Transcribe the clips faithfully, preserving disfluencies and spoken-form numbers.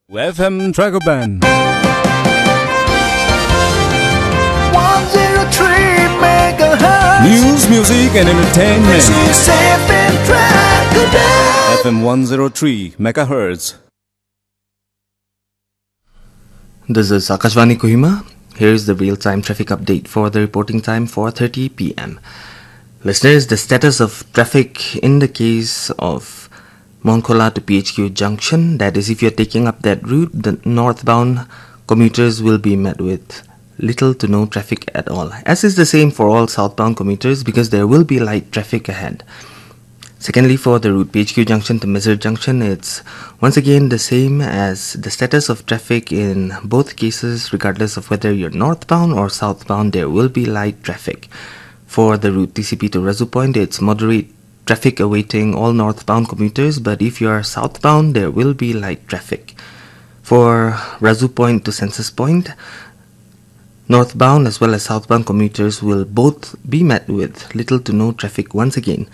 F M Dragoban. one zero three megahertz. News, music, and entertainment. This is F M Dragoban. F M one zero three megahertz. This is Akashvani Kohima. Here is the real-time traffic update for the reporting time, four thirty p m. Listeners, the status of traffic in the case of Monkhola to P H Q junction, that is, if you're taking up that route, the northbound commuters will be met with little to no traffic at all. As is the same for all southbound commuters, because there will be light traffic ahead. Secondly, for the route P H Q junction to Mizar junction, it's once again the same as the status of traffic in both cases, regardless of whether you're northbound or southbound, there will be light traffic. For the route T C P to Razu Point, it's moderate traffic awaiting all northbound commuters, but if you are southbound, there will be light traffic. For Razu Point to Census Point, northbound as well as southbound commuters will both be met with little to no traffic once again.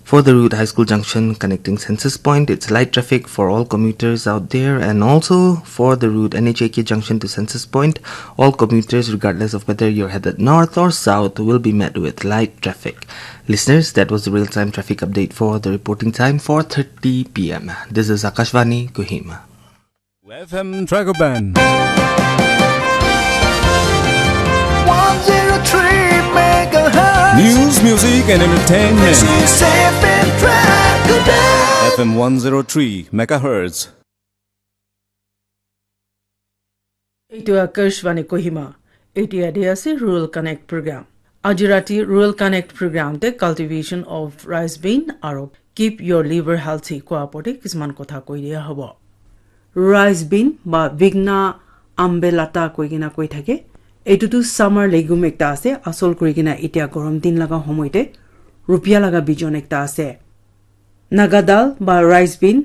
For the route High School Junction connecting Census Point, it's light traffic for all commuters out there, and also for the route N H A K Junction to Census Point, all commuters, regardless of whether you're headed north or south, will be met with light traffic. Listeners, that was the real-time traffic update for the reporting time, four thirty p m. This is Akashvani Kohima. F M Dragoban. one zero three megahertz. News, music, and entertainment. This is F M Dragoban. F M one zero three megahertz. এইটো আকাশবাণী কহিমা। এতিয়া দি আছে rural connect program. আজি ৰাতি rural connect প্ৰগ্ৰামতে cultivation of rice bean আৰু keep ইয়ৰ liver healthy কোৱা ওপৰতে কিছুমান কথা কৈ দিয়া হ'ব। ৰাইচ বিন বা বিগনা আম্বেলাটা কৈ কিনা কৈ থাকে। এইটোতো চামাৰ লেগুম একটা আছে, আচল কৰি কিনা এতিয়া গৰম দিন লগা সময়তে ৰুপিয়া লগা বিজন একটা আছে। নাগা ডাল বা ৰাইচ বিন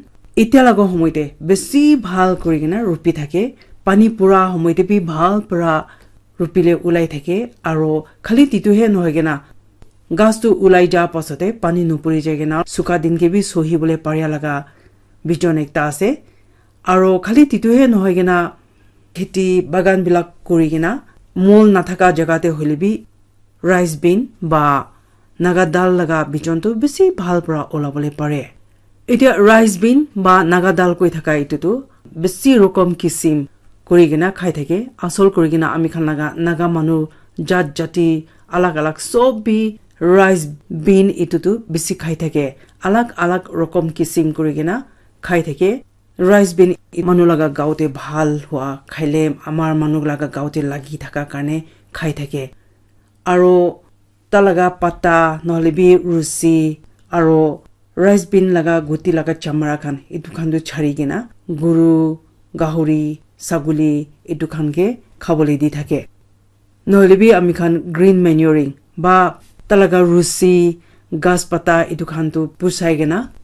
এতিয়া লগা সময়তে বেছি ভাল কৰি কিনা ৰুপি থাকে। পানী পুৰা সময়তে বি ভাল পৰা ৰুপিলে ওলাই থাকে। আৰু খালি তিতুহে নহয় কিনা গাছটো ওলাই যোৱাৰ পাছতে পানী নুপুৰি যায় কিনা চুকা দিনকে বি চহিবলৈ পাৰা লগা বিজন একটা আছে। আৰু খালি তিতুহে নহয় কিনা খেতি বাগানবিলাক কৰি কিনা মল নাথাকা জেগাতে হ'লে বি ৰাইচ বিন বা নাগা ডাল লগা বিজনটো বেছি ভাল পৰা ওলাবলৈ পাৰে। এতিয়া ৰাইচ বিন বা নাগা ডাল কৈ থকা এইটোতো বেছি ৰকম কিচিম কৰি কিনা খাই থাকে। আচল কৰি কিনা আমি খান লগা নাগা মানুহ জাত জাতি আলাগ আলাগ চব বি ৰাইচ বিন এইটোতো বেছি খাই থাকে। আলাগ আলাগ ৰকম কিচিম কৰি কিনা খাই থাকে। ৰাইচ বিন মানুহ লগা গাঁৱতে ভাল হোৱা খাইলে আমাৰ মানুহ লগা গাঁৱতে লাগি থকা কাৰণে খাই থাকে। আৰু তাৰ লগা পাতা নহ'লে বি ৰুচি আৰু ৰাইচ বিন লগা গুটি লগা চামৰা খান এইটো খানটো চাৰি কিনা গৰু, গাহৰি, ছাগলী এইটো খানকে খাবলৈ দি থাকে। নহ'লে বি আমি খান গ্ৰীণ মেনিয়ৰিং বা তাৰ লগা ৰুচি, গাছ পাতা এইটো খানটো পুচাই কিনা